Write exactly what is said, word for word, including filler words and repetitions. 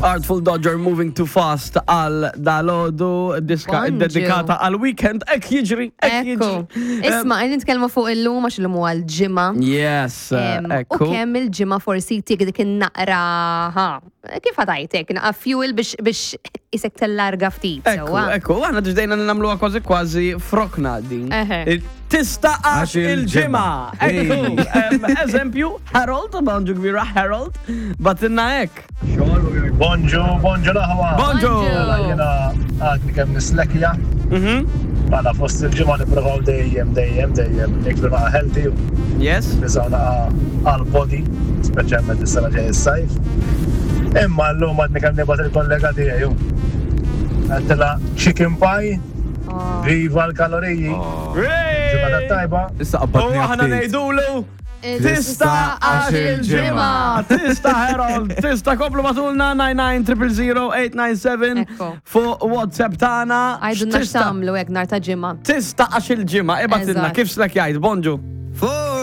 Artful Dodger Moving Too Fast għal dalgħodu, diska Bonġu. dedikata għal weekend, hekk jiġri, hekk Ekku. jiġri. Isma, qegħdin nitkellmu fuq illum għax illum huwa l-ġimgħa. Yes, Em, U ekku. kemm il-ġimgħa forsi tik dik in-naqra, ha, kif ħa tgħidlek, naqra fuel biex biex isek tellarga ftit. Ekku, sewwa. ekku, aħna ġdejna nagħmluha kważi kważi frokna din. Eħe. Tista' għax Għax il-ġimgħa. il-ġimgħa. Ekku, em, eżempju, Harold, bonġu kbira Harold, bagħtilna hekk. Bonġu, bonġu l-aħwa. Bonġu. Mela jiena għadni kemm nislekja. Mhm. Mela fost il-ġimgħa nipprovaw dejjem, dejjem, dejjem niklu naqa healthy u Yes. niżaw naqa għal-body, speċjalment is-sena ġej is-sajf. Imma llum għadni kemm nibgħat il-kollega tiegħi. Għedtilha chicken pie, Oh. viva l-kaloriji. Ġimgħa tajba. Issa U qabadni aħna għaftit. ngħidulu Tista' għax il-ġimgħa. Tista' Harold, tista' komplu ibagħtulna nine nine zero zero zero eight nine seven Ekku. fuq WhatsApp tagħna. Għidulna X'tista'? x'tagħmlu hekk nhar ta' ġimgħa. Tista' għax il-ġimgħa, ibgħatilna Eżatt. kif slek jgħid, bonġu. Fuq